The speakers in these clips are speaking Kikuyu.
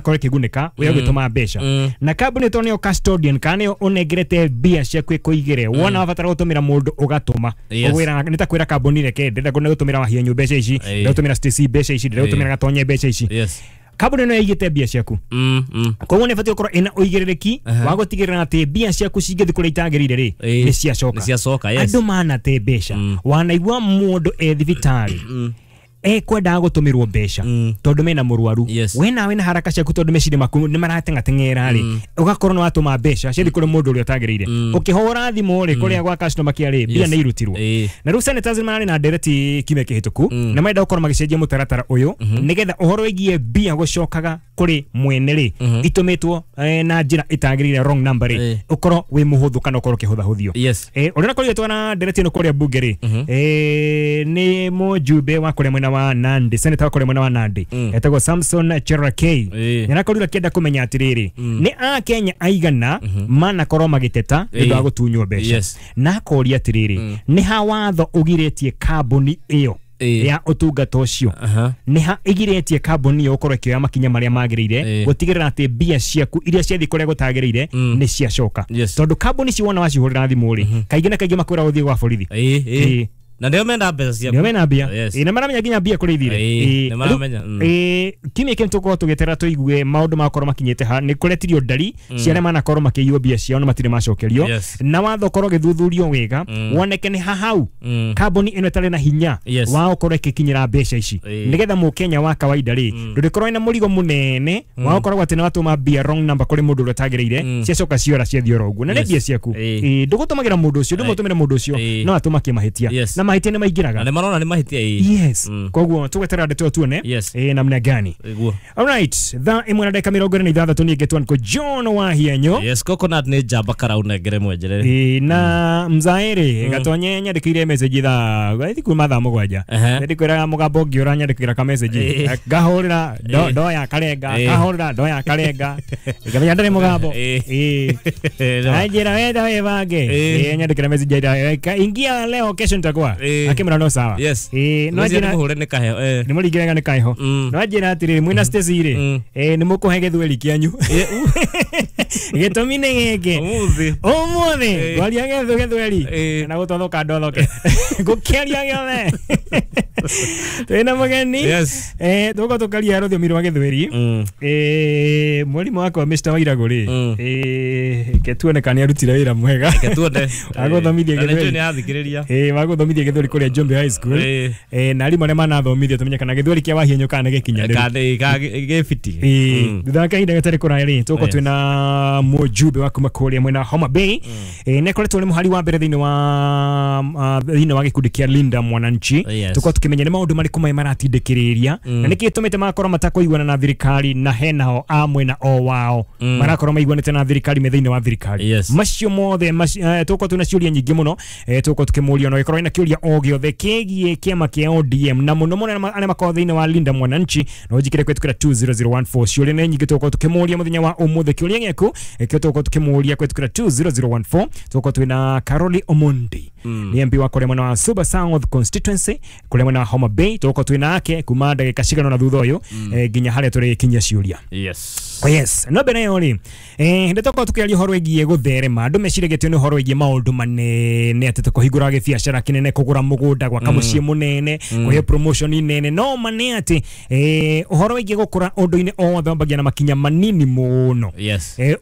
Ĩkorwo ĩkĩgunĩka wĩ ũgĩtũma mbeca na kambuni to nĩyo custodian kana nĩyo ũnengerete mbia ciaku ĩkũigĩre, wona wabatara gũtũmĩra mũndũ ũgatũma. Ũgwĩra nĩ ta kwĩra kambuni, reke ndĩrenda gũtũmĩra Wahienyu mbeca ici, ndĩrenda gũtũmĩra Stacy mbeca ici, ndĩrenda gũtũmĩra Gatonye mbeca ici. Kambuni ĩno ĩigĩte mbia ciaku, koguo nĩ ĩbatiĩ gũkorwo ĩna ũigĩrĩrĩki wa gũtigĩrĩra atĩ mbia ciaku cingĩthiĩ kũrĩa itagĩrĩire rĩ, nĩ ciacoka. Nĩ ciacoka, yes. Andũ manate mbeca. Wanaigua mũndũ e thibitarĩ ekwendaga gũtũmĩrwo mbeca tondũ mena mũrwaru, we nawe na haraka ciaku, tondũ meciria maku nĩ marateng'ateng'era rĩ, ũgakorwo nĩ watũma mbeca ciathiĩ kũrĩ mũndũ ũrĩa ũtagĩrĩire. Ũkĩhũra thimũ rĩ, kũrĩa gwa customer care rĩ, mbia nĩ irutirwo. Na rĩu senators mararĩ na ndereti kiumia kĩhĩtũku na marenda gũkorwo magĩcenjia mũtaratara ũyũ nĩgetha ũhoro wĩgiĩ mbia gũcokaga kũrĩ mwene rĩ, itũmĩtwo na njĩra ĩtagĩrĩire, wrong number rĩ, ũkorwo wĩ mũhũthũ kana ũkorwo ũkĩhũthahũthio. Ũrĩa ũrakorirwo twara ndereti ĩno kũrĩa mbunge rĩ, nĩ mũjumbe wa kũrĩa mwena wa Nandi, senator wa kũrĩa mwena wa Nandi, etagwo Samson Cherargei. Nĩarakorirwo akĩenda kũmenya atĩrĩrĩ, nĩ akenya aigana manakorwo magĩteta nĩ ũndũ wa gũtunywo mbeca, na akoria atĩrĩrĩ, nĩ ha watho ũgirĩtie kambuni ĩyo ya ũtungata ũcio, nĩ ha ĩgirĩtie kambuni ĩyo gũkorwo ĩkĩoya makinya marĩa magĩrĩire gũtigĩrĩra atĩ mbia ciaku iria ciathiĩ kũrĩa gũtagĩrĩire nĩ ciacoka? Tondũ kambuni ici wona wacihũrĩra thimũ rĩ, kaingĩ na kaingĩ makwĩra ũthiĩ gwa borithi. Na nĩo menda mbeca ciaku. Nĩo mena mbia. Na maramenya nginya mbia kũrĩa ithire. Nĩ maramenya. Kiumia kĩu tũkorwo tũgĩetera tũigue maũndũ makorwo makinyĩte ha nĩ kũretirio ndari cia arĩa manakorwo makĩiywo mbia ciao na matirĩ macokerio, na watho ũkorwo ũgĩthuthurio wega woneke nĩ ha hau kambuni ĩno ĩtarĩ na hinya wa gũkorwo ĩgĩkinyĩra mbeca ici, nĩgetha mũkenya wa kawaida rĩ, ndũrĩkorwo wĩna mũrigo mũnene wa gũkorwo atĩ nĩ watũma mbia wrong number kũrĩ mũndũ ũrĩa ũtagĩrĩire, ciacoka ciora ciathiĩ oro ũguo na nĩ mbia ciaku. Ndũgũtũmagĩra mũndũ ũcio, ndũmũtũmĩre mũndũ ũcio, no atũma kĩmahĩtia na mahĩtia nĩ maingĩraga. Na nĩ marona nĩ mahĩtia ĩĩ. Koguo tũgweterera ndeto ĩyo tuone namna gani. Alright, thaa 1:26 niĩ ngetwo niko John Wahienyo. Yes, coconut nĩ njamba karaunengere mwenjerere. Na mzaere Gatonye nyandĩkĩire message thaa gwathi kuma thaa 7. Ndĩkwĩraga mũgambo ũngĩ ũranyandĩkĩra ka message, ngahũrĩra ndoya karenga, ngahũrĩra ndoya karenga, ngamenya ndarĩ mũgambo. Anjĩra wenda wĩbange. Nyandĩkĩra message aira, ingia leo, kesho nitakuwa, akĩmwĩra no sawa. No Rũciũ anjĩra nĩmũhũre nĩ kaheo. Nĩ mũringĩrega nĩ kaheho. No anjĩra atĩrĩrĩ, mwĩna Stacy rĩ, nĩ mũkũhe gĩthweri kĩanyu, gĩtũmi nĩ gĩkĩ. Ũmũthĩ. Ũmũthĩ ngwaria gĩthweri na gũtothoka ndothoke ngũkĩaria gĩothe twĩna mũgeni. Tũgũkorwo tũkaria rũthiomi rwa gĩthweri. Mwarimũ wakwa Mr. Wairagũ rĩ, ke tuone kana nĩ arutire wĩra mwega Reke tuone. Agũthomithia Na nĩ njũĩ gĩthweri. nĩ athikĩrĩria. Wagũthomithia gĩthweri kũrĩa Njombe High School. Na arimũ arĩa manathomithia tũmenye kana gĩthweri kĩa Wahienyo kana nĩ gĩkinyanĩru. Kana gĩbiti. Thutha wa kahinda gatarĩ kũraya rĩ, tũgũkorwo twĩna mũjumbe wa kuma kũrĩa mwena wa Homa Bay. Nĩ akoretwo nĩ mũhari wa mbere thĩinĩ wa gĩkundi kĩa Linda Mwananchi. Tũkorwo tũkĩmenya nĩ maũndũ marĩkũ maya maratindĩkĩrĩria na nĩkĩ gĩtũmĩte magakorwo matakũiguana na thirikari, na henao a mwena o wao marakorwo maiguanĩte na thirikari me thĩinĩ wa thirikari. Macio mothe tũgũkorwo twĩna ciũria nyingĩ mũno, tũgũkorwo tũkĩmũria no ĩkorwo ĩna kĩũria o gĩothe kĩgiĩ kĩama kĩa ODM na mũno mũno arĩa makorwo thĩinĩ wa Linda Mwananchi, no njikire kũhetũkĩra 20014. Ciũria nĩ nyingĩ tũgũkorwo tũkĩmũria mũthenya wa ũmũthĩ. Kĩũria gĩaku kĩo tũgũkorwo tũkĩmũria kũhetũkĩra 20014. Tũgũkorwo twĩna Caroli Omondi, nĩ MP wa kũrĩa mwena wa Suba South constituency, kũrĩa mwena wa Homa Bay. Tũgũkorwo twĩna ake kuma ndagĩka cigana na thutha ũyũ, nginya harĩa tũrĩkinyia ciũria. Oh, yes, no mbere ĩyo rĩ, ndĩ tũkorwo tũkĩaria ũhoro wĩgiĩ gũtherema. Andũ meciragia atĩ nĩ ũhoro wĩgiĩ maũndũ manene, atĩ tũkũhingũra gĩbiacara kĩnene, kũgũra mũgũnda, gwaka mũciĩ mũnene, kũheo promotion nene. No ma nĩ atĩ ũhoro wĩgiĩ gũkũra ũndũ-inĩ o wothe wambagia na makinya manini mũno.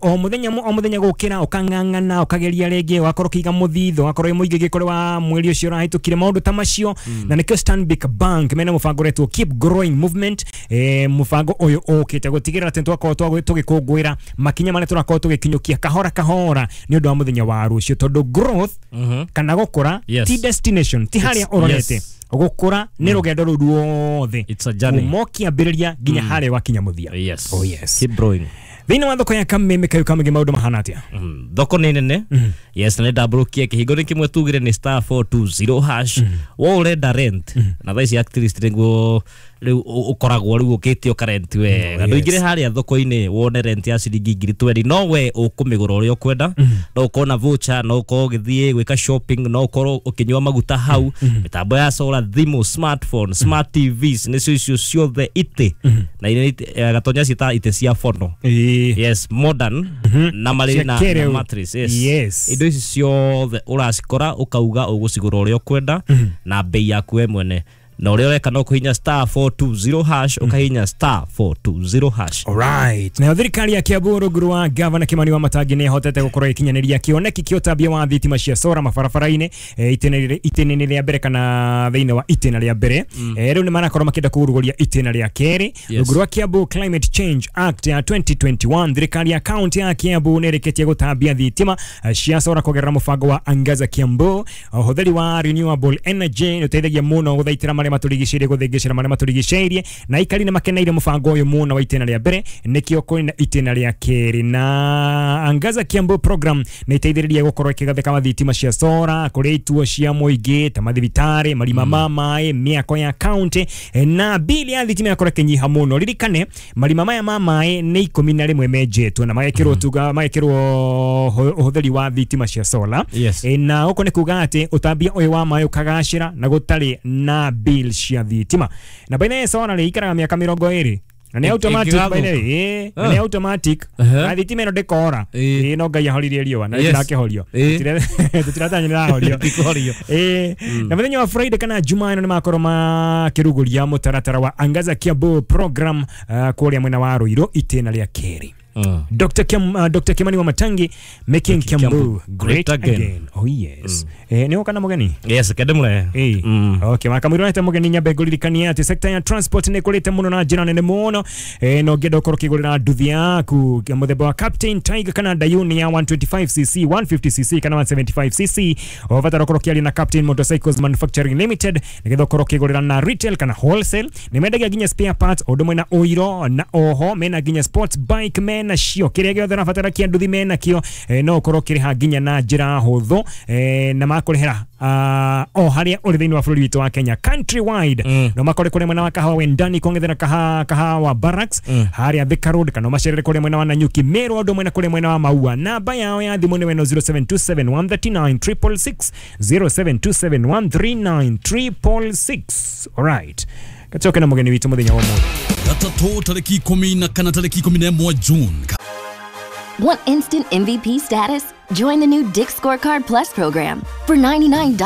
O mũthenya o mũthenya gũkĩra ũkang'ang'ana, ũkageria rĩngĩ, ũgakorwo ũkĩiga mũthithũ, ũgakorwo wĩ mũingĩ gĩkũrĩ wa mweri ũcio ũrahĩtũkire, maũndũ ta macio. Na nĩkĩo Stanbic Bank mena mũbango ũretwo Keep Growing Movement. Mũbango ũyũ ũkĩte gũtigĩrĩra atĩ twakorwo tũgĩkũngũĩra makinya marĩa tũrakorwo tũgĩkinyũkia kahora kahora nĩ ũndũ wa mũthenya wa rũciũ, tondũ growth kana gũkũra ti destination, ti harĩa ũrorete. Gũkũra nĩ rũgendo rũu ruothe It's a journey. kuma ũkĩambĩrĩria nginya harĩa wakinya mũthia. Oh, yes. Keep growing. Thĩinĩ wa thoko ya Kameme kayu kamĩgĩ maũndũ mahana atĩa? Thoko nĩ nene, yes, na nĩ ndambũrũkie kĩhingo nĩ kĩmwe tugire nĩ *420#. Wo ũrenda rent na thaa ici at least nĩguo Rĩu ũkoragwo rĩu ũkĩtio karent wega. Ndũingĩre harĩa thoko-inĩ wone rent ya ciringi 20,000, no we ũkũmĩgũra ũrĩa ũkwenda. No ũkorwo na voucher, no ũkorwo ũgĩthiĩ gwĩka shopping, no ũkorwo ũkĩnyua maguta hau, mĩtambo ya solar, thimũ, smartphone, smart TVs, nĩcio icio ciothe itĩ na gatonya ciĩta itĩ cia fono. Yes, modern na marĩ na mattress. Yes. Indo ici ciothe ũracikora ũkauga ũgũcigũra ũrĩa ũkwenda na bei yaku we mwene. Na ũrĩa ũreka no kũhihinya *420#, ũkahihinya *420#. Alright. Nayo thirikari ya Kiambu rungu rwa Gavana Kimani wa Matangi nĩ ĩhotete gũkorwo ĩkinyanĩria kĩoneki kĩa ũtambia wa thitima cia sora mabarabara-inĩ, itĩna-inĩ rĩa mbere kana thĩinĩ wa itĩna rĩa mbere. Rĩu nĩ marakorwo makĩenda kũrugũria itĩna rĩa kerĩ. Rungu rwa Kiambu Climate Change Act ya 2021, thirikari ya kaunti ya Kiambu nĩ ĩrĩkĩtie gũtambia thitima cia sora kũgerera mũbango wa Angaza Kiambu. Ũhũthĩri wa renewable energy nĩ ũteithagia mũno gũthaitĩra marĩa matũrigicĩirie, gũthĩngĩcĩra marĩa matũrigicĩirie, na aikari nĩ makeneire mũbango ũyũ mũno wa itĩna rĩa mbere, nĩkĩo kũrĩ na itĩna rĩa kerĩ. Na Angaza Kiambu program nĩ ĩteithĩrĩria gũkorwo ĩkĩgathĩka wa thitima cia sora kũrĩ ituo cia mũingĩ ta mathibitarĩ, marima ma maĩ, mĩako ya kaunti, na bili ya thitima yakorwo ĩkĩnyiha mũno. Ririkane marima maya ma maĩ nĩ 11 menjetwo na magekĩrwo tuga magekĩrwo ũhũthĩri wa thitima cia sola. Na ũko nĩ kuga atĩ ũtambia ũyũ wa maĩ ũkagacĩra na gũtarĩ na bill cia thitima. Na baina ya sora rĩ ikaraga mĩaka 20 na nĩ automatic, baina ĩ na nĩ automatic, na thitima ĩno ndĩkora. No Ngai ahoririe riũa na ndĩrakĩhorio, tũtiratanya nĩrahorio. Na mũthenya wa Friday kana Jumaa ĩno nĩ makorwo makĩrugũria mũtaratara wa Angaza Kiambu program kũrĩa mwena wa Ruiru itĩna rĩa kerĩ. Dr. Kimani wa Matangi making Kiambu great again. Oh yes. Ni wakana mugeni? Yes, kedemule. Okay, makamwirwo nete mugeni nyambe ngũririkanie atĩ sector ya transport nĩ ĩkũrĩte mũno na njĩra nene mũno. No ũngĩenda ũkorwo ũkĩgũrĩra nduthi yaku mũthemba wa Captain Tiger kana Dayuni ya 125cc, 150cc kana 175cc, ũbatara ũkorwo ũkĩaria na Captain Motorcycles Manufacturing Limited nĩgetha ũkorwo ũkĩgũrĩra na retail kana wholesale. Nĩ mendagia nginya spare parts ũndũ mwena ũiro, na oho mena nginya sports bike mena cio, kĩrĩa gĩothe ũrabatara kĩa nduthi mena kĩo. No ũkorwo ũkĩrĩha nginya na njĩra hũthũ, na makũrĩhĩra o harĩa ũrĩ thĩinĩ wa bũrũri witũ wa Kenya country wide. No makore kũrĩa mwena wa Kahawa Wendani kũng'ethera Kahawa Barracks harĩa Thika Road, kana macerere kũrĩa mwena wa Nanyuki Meru, ũndũ mwena kũrĩa mwena wa Maua. Namba yao ya thimũ nĩ weno 0727 139 666, 0727 139 666. Alright, gacoke na mũgeni witũ mũthenya wa ũmũthĩ. Gatatũ tarĩki 10 na kana tarĩki 11 June. Want instant MVP status? Join the new Dick's Scorecard Plus program. For $99,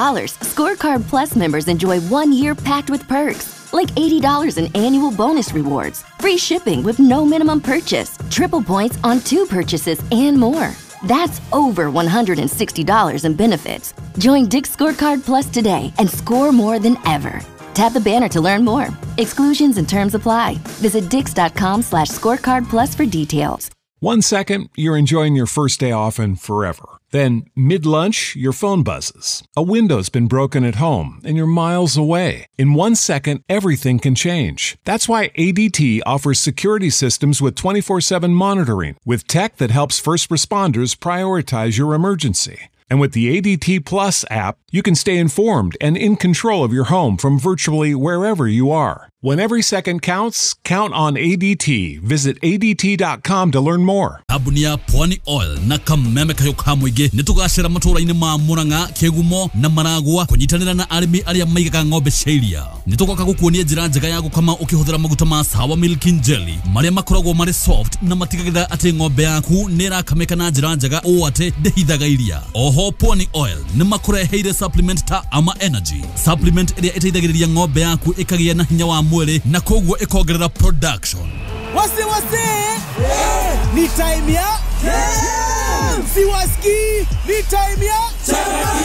Scorecard Plus members enjoy 1 year packed with perks, like $80 in annual bonus rewards, free shipping with no minimum purchase, triple points on 2 purchases, and more. That's over $160 in benefits. Join Dick's Scorecard Plus today and score more than ever. Tap the banner to learn more. Exclusions and terms apply. Visit dicks.com/scorecard plus for details. 1 second, you're enjoying your first day off and forever. Then, mid-lunch, your phone buzzes. A window's been broken at home, and you're miles away. In 1 second, everything can change. That's why ADT offers security systems with 24/7 monitoring, with tech that helps first responders prioritize your emergency. And with the ADT Plus app, you can stay informed and in control of your home from virtually wherever you are. When every second counts, count on ADT. Visit ADT.com to learn more. Kambuni ya Pwani Oil na kameme kayo ka mũingĩ nĩ tũgacĩra matũũra-inĩ ma Murang'a, Kĩgumo na Maragua kũnyitanĩra na arĩmi arĩa maigaga ng'ombe cia iria. Nĩ tũgoka gũkuonia njĩra njega ya gũkama ũkĩhũthĩra maguta ma Sawa Milk and Jelly marĩa makoragwo marĩ soft na matigagĩrĩra atĩ ng'ombe yaku nĩ ĩrakamĩka na njĩra njega ũũ atĩ ndĩhithaga iria. Oho Pwani Oil nĩ makũreheire supplement ta Ama Energy, supplement ĩrĩa ĩteithagĩrĩria ng'ombe yaku ĩkagĩa na hinya wa mwĩrĩ na koguo ĩkongerera production. Wase wase, yeah. Ni time ya yeah. Siwaski, ni time ya Chapa.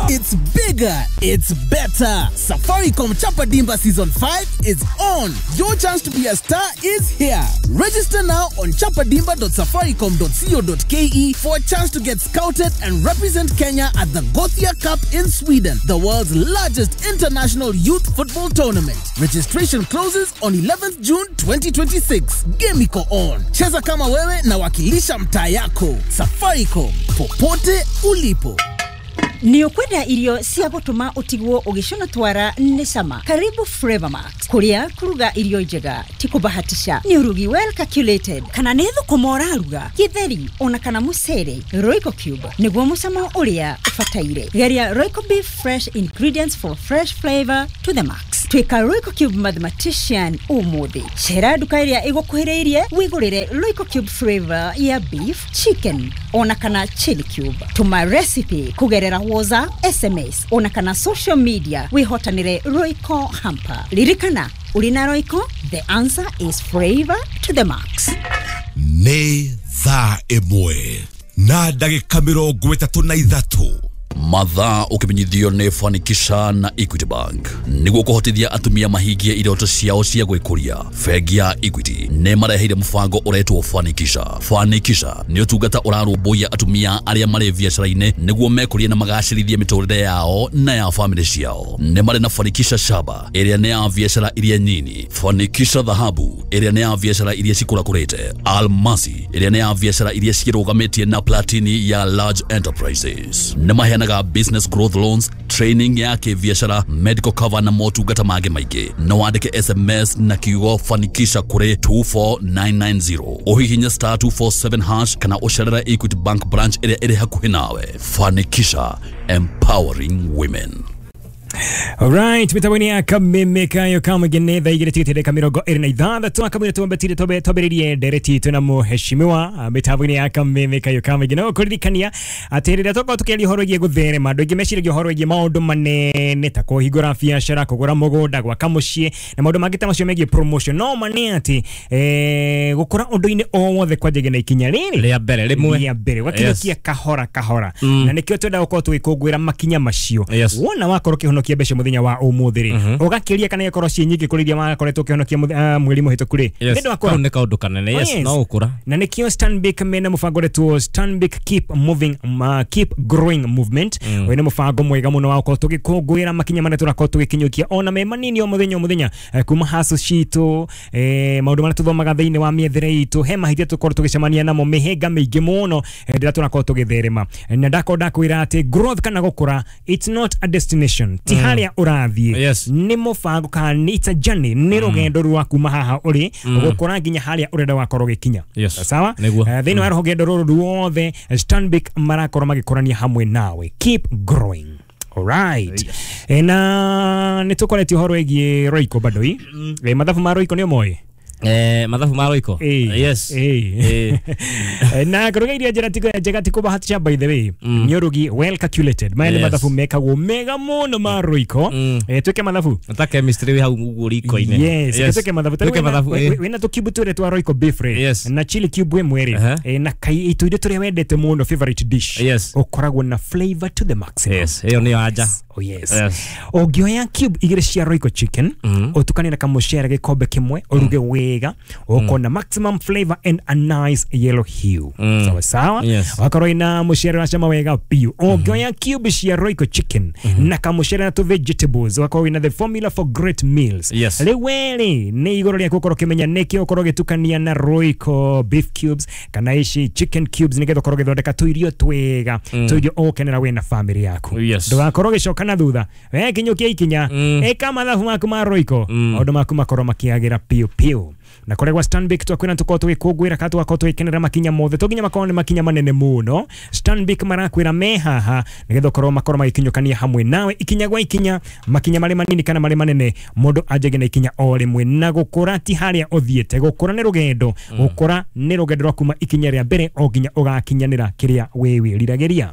It's bigger, it's better. Safaricom Chapa Dimba Season 5 is on. Your chance to be a star is here. Register now on chapadimba.safaricom.co.ke for a chance to get scouted and represent Kenya at the Gothia Cup in Sweden, the world's largest international youth football tournament. Registration closes on 11th June 2026. Game iko on. Cheza kama wewe na wakilisha mtaa yako. Safaricom, popote ulipo. Nĩ ũkwenda irio cia gũtũma ũtigwo ũgĩcũna twara nĩ cama. Karibu Flavor Max, kũrĩa kũruga irio njega ti kũbahatisha, nĩ ũrugi well calculated. Kana nĩ thũkũma ũraruga, gĩtheri ona kana mũcere, Royco Cube nĩguo mũcamo ũrĩa ũbataire. Geria Royco Beef, fresh ingredients for fresh flavor to the max. Tuĩka Royco Cube mathematician ũmũthĩ. Cera nduka ĩrĩa ĩgũkuhĩrĩirie wĩgũrĩre Royco Cube flavor ya beef, chicken ona kana chili cube. Tũma recipe kũgerera WhatsApp, SMS ona kana social media wĩhotanĩre Royco hamper. Ririkana, ũrĩ na Royco, the answer is flavor to the max. Nĩ thaa 1 na ndagĩka 33. Mathaa ũkĩmenyithio nĩ Fanikisha na Equity Bank nĩguo kũhotithia atumia mahingie iroto ciao cia gwĩkũria. Bengi ya Equity nĩ mareheire mũbango ũretwo Fanikisha. Fanikisha nĩ ũtungata ũrarũmbũiya atumia arĩa marĩ biacara-inĩ nĩguo mekũrie na magacĩrithie mĩtũrĩre yao na ya famĩlĩ ciao. Nĩ marĩ na Fanikisha Shaba ĩrĩa nĩ ya biacara iria nyini, Fanikisha Dhahabu ĩrĩa nĩ ya biacara iria cikũrakũrĩte, Almasi ĩrĩa nĩ ya biacara iria cirũgamĩtie na Platini ya large enterprises. Nĩ maheanaga business growth loans, training ya kĩbiacara, medical cover na motungata mangĩ maingĩ. No wandĩke SMS na kiugo Fanikisha kũrĩ 24990, ũhihinye star 247 hash kana ũcerere Equity Bank branch ĩrĩa ĩrĩ hakuhĩ nawe. Fanikisha, empowering women. Alright, mitambo-inĩ ya Kameme kayo kamũingĩ thaa igĩrĩ tigĩte ndagĩka 26 akamwĩra twambatire twambĩrĩrie ndereti itũ na mũheshimiwa mitambo-inĩ ya Kameme kayo kamũingĩ. No kũririkania atĩ rĩrĩa twakorwo tũkĩaria ũhoro wĩgiĩ gũtherema, andũ aingĩ meciragia ũhoro wĩgiĩ maũndũ manene ta kũhingũra biacara, kũgũra mũgũnda, gwaka mũciĩ na maũndũ mangĩ ta macio megiĩ promotion. No ma nĩ atĩ gũkũra ũndũ-inĩ o wothe kwanjagia na ikinya rĩrĩ rĩa mbere rĩmwe, rĩa mbere ũgakinyũkia kahora kahora, na nĩkĩo twenda gũkorwo tũgĩkũngũĩra makinya macio. Wona wakorwo ũkĩhonokia mbeca muthenya wa umuthi ri ugakiria kana ikorwo ci nyingi kuri iria wakoretwo ukihonokia mweri muhituku ri nĩ wakora nĩ kaundu kanene. Yes, no ukura na nikio Stanbic mena mubango retwo Stanbic Keep Moving Keep Growing Movement. Uyu nĩ mubango mwega muno wa gukorwo tugikũngũĩra makinya marĩa tũrakorwo tũgĩkinyũkia ona me manini o muthenya o muthenya, kuma hacu citũ, maũndũ marĩa tuthomaga thĩinĩ wa mĩethere itũ, he mahĩtia tũkorwo tũgĩcemania namo mĩhĩnga mĩingĩ mũno rĩrĩa tũrakorwo tũgĩtherema. Na ndakorwo ndakwĩra atĩ growth kana gũkũra, it's not a destination, ti harĩa ũrathiĩ, nĩ mũbango kana it's a journey, nĩ rũgendo rwa kuma haha ũrĩ gũkũra nginya harĩa ũrenda wakorwo ũgĩkinya. Sawa, thĩinĩ wa rũgendo rũrũ ruothe Stanbic marakorwo magĩkũrania hamwe nawe. Keep growing. Alright. Yes. Na nĩ tũkoretie ũhoro wĩgiĩ Royco bado i. Mathabu ma Royco nĩ ũmoĩ? Mathabu ma Royco. Yes. Na kũruga irio njega njega ti kũbahatisha, by the way. Nĩ ũrugi well calculated. Maya nĩ mathabu mekagwo mega mũno ma Royco. Twĩke mathabu. Ta chemistry wĩ hau ũguo riko-inĩ. Yes, twĩke mathabu. Twĩke mathabu. Wĩna tũkibu twĩrĩ twa Royco beef rĩ. Na chili cube ĩmwe rĩ. Na itũ iria tũrĩa wendete mũno favorite dish. Ũkoragwo na flavor to the maximum. Yes, ĩyo nĩyo anja. Oh yes. Ũngĩoya cube igĩrĩ cia Royco chicken, ũtukanie na kamũcere gĩkombe kĩmwe, ũruge wega, ũkona maximum flavor and a nice yellow hue. Sawa sawa. Wakorwo ina mũcere wa cama wega biũ. Ũngĩoya cube cia Royco chicken na kamũcere na tu vegetables, wakorwo ina the formula for great meals. Rĩu werĩ nĩ igũrũ rĩaku ũkorwo ũkĩmenya nĩkĩ ũkorwo ũgĩtukania na Royco beef cubes kana ici chicken cubes nĩgetha ũkorwo ũgĩthondeka tũirio twega, tũirio ũgũkenera wĩ na family yaku. Ndũgakorwo ũgĩcoka na thutha, we kinyũkia ikinya, ĩka mathabu maku ma Royco, maũndũ maku makorwo makĩagĩra piũ piũ. Na kũrĩa gwa Stanbic twakwĩra tũkorwo tũgĩkũngũĩra kana tũgakorwo tũgĩkenera makinya mothe, to nginya makorwo nĩ makinya manene mũno. Stanbic marakwĩra me haha nĩgetha ũkorwo makorwo magĩkinyũkania hamwe nawe ikinya gwa ikinya, makinya marĩ manini kana marĩ manene, mũndũ anjagie na ikinya o rĩmwe. Na gũkũra ti harĩa ũthiĩte, gũkũra nĩ rũgendo, gũkũra nĩ rũgendo rwa kuma ikinya rĩa mbere o nginya ũgakinyanĩra kĩrĩa wĩ wĩriragĩria.